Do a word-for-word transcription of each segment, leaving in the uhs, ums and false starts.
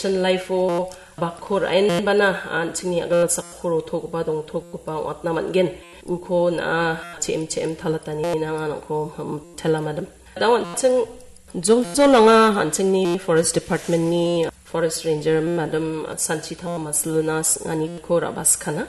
Mission Life-o bakko ra·enbana an·chingni a·galsakko rotogipa dongtogipa ong·atna man·gen. Uko na·a che·em che·em talatani nanga nangko, hmm, tela madam. Dao an·ching joljol anga an·chingni Forest Department-ni Forest Ranger madam Sanchita Masluna s-, aniko ra·baskana.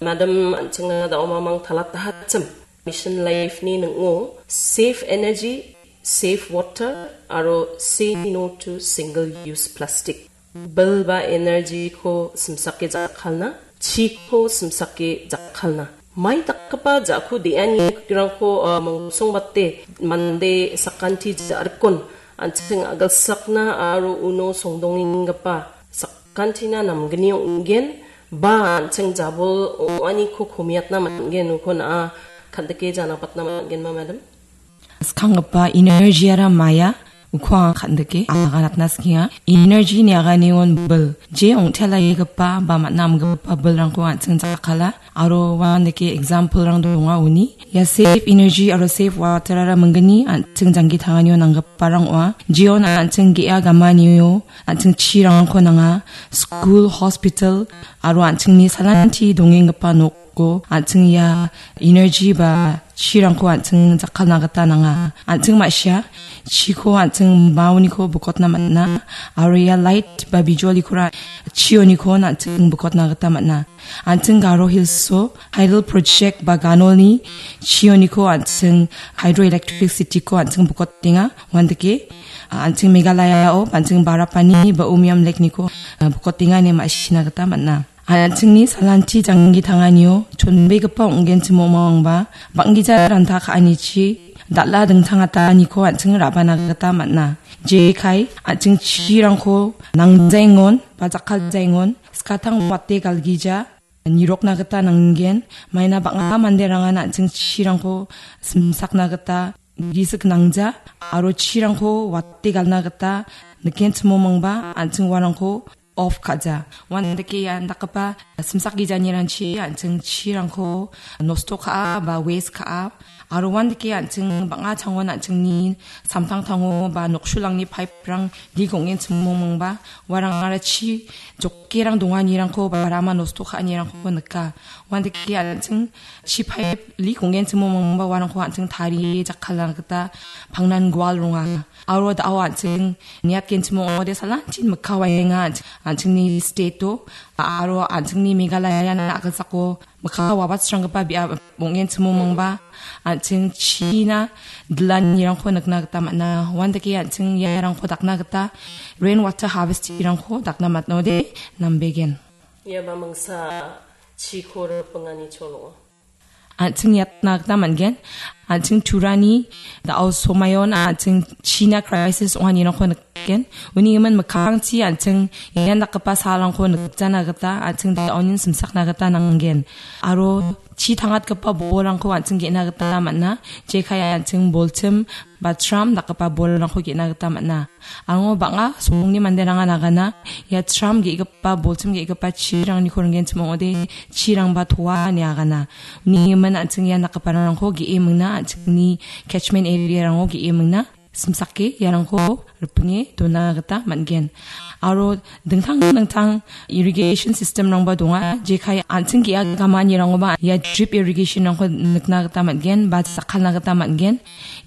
Madam an·chingna dao mamang talatahachim. Mission Life-ni ning·o Save Energy, Save Water, aro Say No to Single Use Plastic. Bil ba energy-ko simsake jakkalna, chiko simsake jakkalna. Mai dakgipa ja·ku de·anirangko, ah, mongsongbate mande sakanti ja·rikon an·ching a·galsakna aro uno songdongenggipa sakantina namgni ong·gen ba an·ching jabol ong·aniko komiatna man·gen, uko na·a kan·dike janapatna man·genma, madam? Skanggipa energy-ara maia, uko anga kan·dike aganatna sikenga. Energy-ni aganion bil, je ong·telagipa ba man·a amgipa bilrangko an·ching jakkala. Aro uandake example-rang donga uni. Ia Save Energy aro Save Water-ara minggni an·ching janggi tanganio nanggiparang ong·a. Jeon an·ching ge·a gamanio an·ching chirangko nanga. School, hospital, aro an·chingni salanti dongenggipa nok go an·ching ia energy ba chirangko an·ching jakkalna gita nanga. An·ching ma·sia chiko an·ching maoniko bukotna man·a, aro ia light ba bijolikora chioniko an·ching bukotna gita man·a. An·ching Garo Hills-o hydel project ba ganolni chioniko an·ching hydroelectricity-ko an·ching bukotenga. Uandake an·ching Meghalaya-o an·ching Barapani ba Umiam Lake-niko, ah, bukotenga ine ma·sina gita man·a. An·chingni salanti janggi tanganio chonbegipa ong·genchim ong·mangba bang·gija ranta ka·anichi dal·a dingtangataniko an·ching ra·bana gita man·a. Jekai an·ching chirangko nangjaengon ba jakkaljaengon skatang wate galgija nirokna gita nanggen. Maina bang·a manderangan an·ching chirangko simsakna gita gisik nangja aro chirangko wate galna gita nikenchim ong·mangba an·ching uarangko off ka·ja. Uandake ian dakgipa simsak gijanirangchi an·ching chirangko nosto ka·a ba waste ka·a. Aro uandake an·ching bang·a changon an·chingni samtangtango ba noksulangni pipe-rang leak ong·enchim ong·mangba uarangara chi jokerang donganirangko ba rama nosto ka·anirangko nika. Uandake an·ching chi pipe leak ong·enchim ong·mangba uarangko an·ching tarie jakkalna gita pangnan gual ronga. Aro da·o an·ching niatgenchim ong·ode salantin mikka waenga an·ching, an·chingni state-o, aro an·chingni Meghalaya-na a·gilsako mikka wabatsranggipa biap ong·enchim ong·mangba an·ching china dilanirangko nikna gita man·a. Uandake an·ching iarangko dakna gita rain water harvesting-rangko dakna man·ode nambegen. Ia ba mingsa chiko ripingani chol ong·a. An·ching iatna gita man·gen. An·ching Turani da·o somayon an·ching china crisis ong·anirangko nikgen. Uni gimin mikkangchi an·ching ian dakgipa salrangko nikjana gita an·ching da·onin simsakna gita nanggen. Aro chi tangatgipa bolrangko an·ching ge·na gita man·a. Jekai an·ching bolchim ba tram dakgipa bolrangko ge·na gita man·a. Aro bang·a songni manderangan agana ia tram ge·gipa, bolchim ge·gipa chirangniko ringgenchim ong·ode chirangba toa ine agana. Uni gimin an·ching ian dakgiparangko ge·e mingna, an·chingni catchment area-rango ge·e mingna, simsake iarangko ripinge dona gita man·gen. Aro dingtang dingtang irrigation system-rangba donga, jekai an·ching ge·a gamanirangoba ia drip irrigation-rangko nikna gita man·gen ba jakkalna gita man·gen.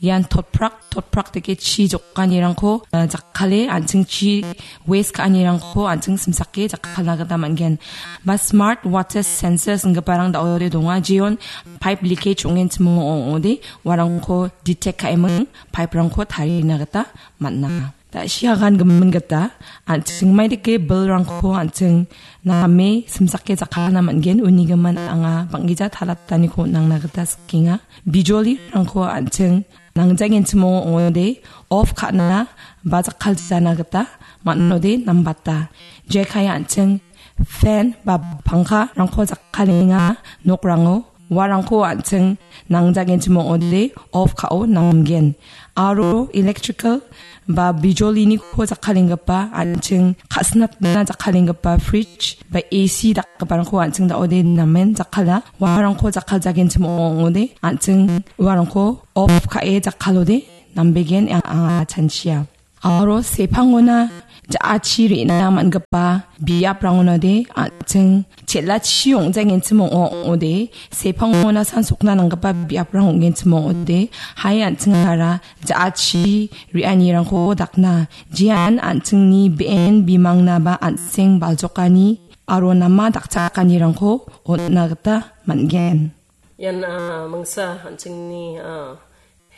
Ian totprak totprak dake chi jokanirangko, eh, jakkale an·ching chi waste ka·anirangko an·ching simsake jakkalna gita man·gen. Ba smart water sensors inggiparang da·ode donga, jeon pipe leakage ong·enchim ong·ode uarangko detect ka·eming pipe-rangko tarina gita man·a. Da·sia gan gimin gita an·ching maidake bilrangko an·ching name simsake jakkalna man·gen, uni gimin anga bang·gija talataniko nangna gita sikenga. Bijolirangko an·ching nangjagenchim ong·ode off ka·na ba jakkaljana gita man·ode nambata. Jekai an·ching fan ba pangkarangko jakkalenga nokrango, uarangko an·ching nangjagenchim ong·ode off ka·o namgen. Aro electrical ba bijoliniko jakkalenggipa an·ching ka·sinatna jakkalenggipa fridge ba A C dakgiparangko an·ching da·ode namen jakkala. Uarangko jakkaljagenchim ong·ode an·ching uarangko off ka·e jakkalode nambegen anga chanchia. Aro sepangona ja·achi re·na man·gipa biaprangode an·ching chel·achi ong·jagenchim ong·ode, sepangona san sokna nanggipa biaprang ong·genchim ong·ode, hai an·chingara ja·achi re·anirangko dakna, jean an·chingni be·en bimangnaba an·seng baljokani aro nama dakchakanirangko on·na gita man·gen. Ian, ah, mingsa an·chingni, ah,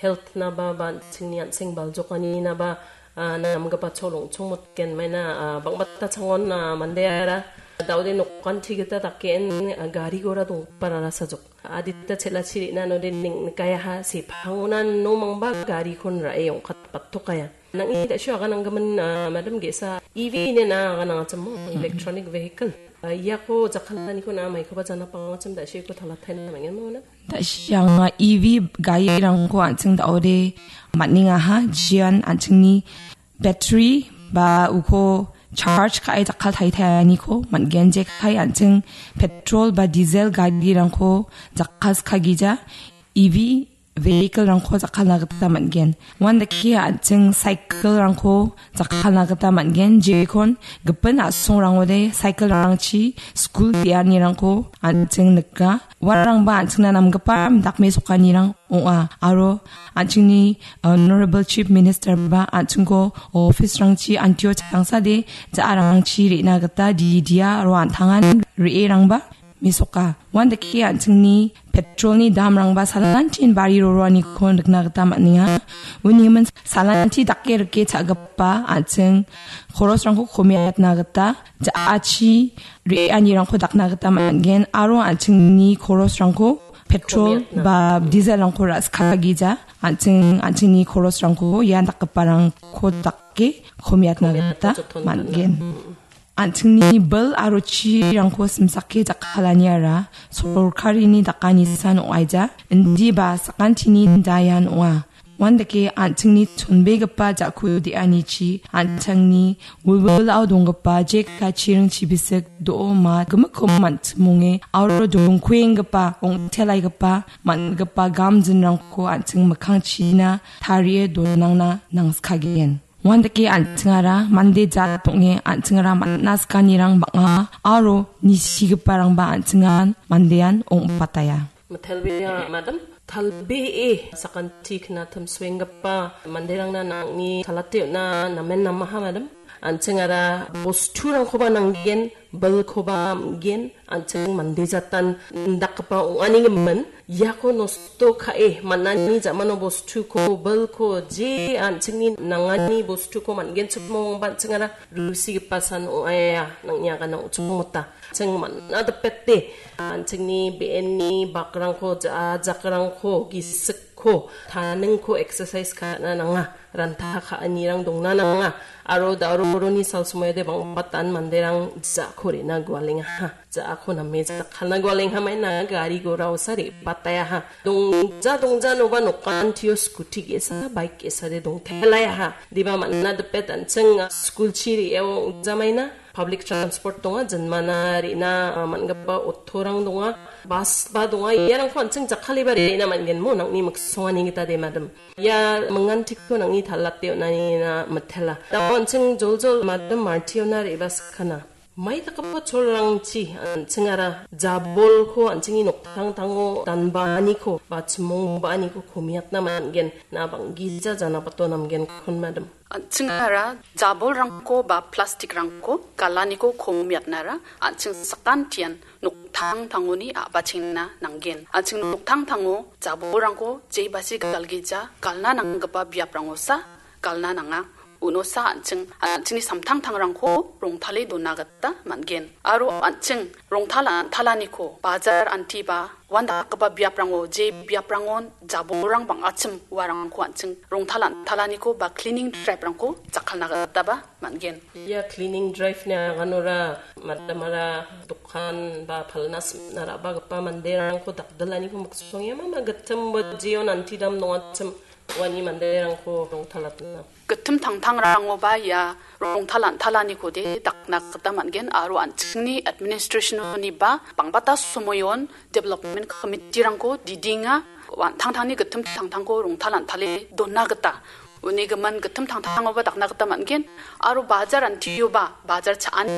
health-naba ba an·chingni an·seng baljokaninaba, ah, namgipa cholong chongmotgen maina, ah, bang·bata changon, ah, mandeara da·ode nokanti gita dakgen, ah, gari gora donggiparara sajok. Adita chel·achi re·na node ning-, nikayaha sepangona no mangba garikon ra·e ong·katbatokaya. Nang·ni da·sio agananggimin, ah, madam ge·sa E V inen aganangachim mo, electronic vehicle. Ah, iako jakkalnaniko na maikoba jana pangachim da·sioko talataina man·gen mo na? Da·sia anga E V garirangko an·ching da·ode man·engaha, jian an·chingni battery ba uko charge ka·e jakkal taitaianiko man·gen, jekai an·ching petrol ba diesel garirangko jakkalskagija E V vehicle-rangko jakkalna gita man·gen. Uandake an·ching cycle-rangko jakkalna gita man·gen. Jekon gipin a·songrangode cycle-rangchi skul ge·anirangko an·ching nika. Uarangba an·chingna namgipa dakmesokanirang ong·a. Aro an·chingni, uh, Honorable Chief Minister-ba an·chingko office-rangchi antio changsade ja·arangchi re·na gita didia aro an·tangan re·erangba mesoka. Uandake an·chingni petrolni damrangba salantin bari roroaniko nikna gita man·enga. Unigimin salanti dake rike cha·gipa an·ching korosrangko komiatna gita ja·achi re·anirangko dakna gita man·gen aro an·chingni korosrangko petrol ba diesel-rangko ra·skagija an·ching, an·chingni korosrangko ian dakgiparangko dake komiatna gita man·gen. An·chingni bil aro chirangko simsake jakkalaniara sorkarini dakanisan ong·aija, indiba sakantini dayan ong·a. Uandake an·chingni chonbegipa ja·ku de·anichi an·chingni wilwilao donggipa jeka chiring chibisik do·o ma gimikko man·chimonge aro dongkuenggipa ong·telaigipa man·gipa gamjinrangko an·ching mikkangchina tarie donangna nangskagen. Uandake an·chingara mande jat ong·e an·chingara man·na sikanirang bang·a aro nisigiparangba an·chingan mandean ong·bataia. Mitelbea, madam, talbee sakanti knatim suenggipa manderangna nang·ni salate on·a namen namaha, madam. An·chingara bosturangkoba nanggen, bilkoba am·gen, an·ching mande jatan indakgipa ong·ani gimin. Iako nosto ka·e man·ani ja·mano bostuko, bilko, je an·chingni nangani bostuko man·genchipmongba an·chingara rusigipa san ong·aia, nang·ni agana ong·chongmota. An·ching man·a dipete, an·chingni be·enni bakrangko, ja-, jakrangko, gisikko, taningko exercise ka·na nanga. Ranta ka·anirang dongna nanga. Aro da·ro boroni salsomoiade bang·batan manderang ja·ko re·na gualengaha. Ja·ako name jakkalna gualengha maina gari gora osa re·batayaha. Dongja dongjanoba nokantio skuti ge·sa, baik ge·sade dongtelaiaha. Diba man·a dipet an·ching skulchi re·eo ong·jamaina. Public transport donga, jinmana re·na, ah, man·gipa auto-rang donga, bus-ba donga, iarangko an·ching jakkaliba re·na man·gen mo, nang·ni miksongani gita de, madam. Ia mingantiko nang·ni talate on·anina mitela. Da·o an·ching joljol madam Martiona re·baskana. Mai dakgipa cholrangchi an·chingara jabolko an·chingni noktangtango danbaaniko ba chimongbaaniko komiatna man·gen, na bang·gija janabato namgenkon, madam. An·chingara jabolrangko ba plastikrangko galaniko komiatnara an·ching sakantian noktangtangoni a·bachengna nanggen. An·ching noktangtango jabolrangko jebasi galgija galna nanggipa biaprangosa galna nanga. Unosa an·ching, an·chingni samtangtangrangko rongtale dona gita man·gen. Aro an·ching rongtal an·talaniko bajar anti ba uandakgipa biaprango, je biaprangon jabolrang bang·achim uarangko an·ching rongtal an·talaniko ba cleaning drive-rangko jakkalna gitaba man·gen. Ia cleaning drive-ni aganora madamara dokan ba palna simna ra·bagipa manderangko dakdilaniko miksongenga, mama gittim ba jeon antidam nongachim uani manderangko rongtalatna. Gittim tangtangrangoba ia rongtal an·talanikode dakna gita man·gen aro an·chingni administration-oniba bang·bata somoion development committee-rangko didinga, an·tangtangni gittim tangtangko rongtal an·tale dona gita. uni gimin gittim tangtangoba dakna gita man·gen, aro bajar antioba, bajar cha·ani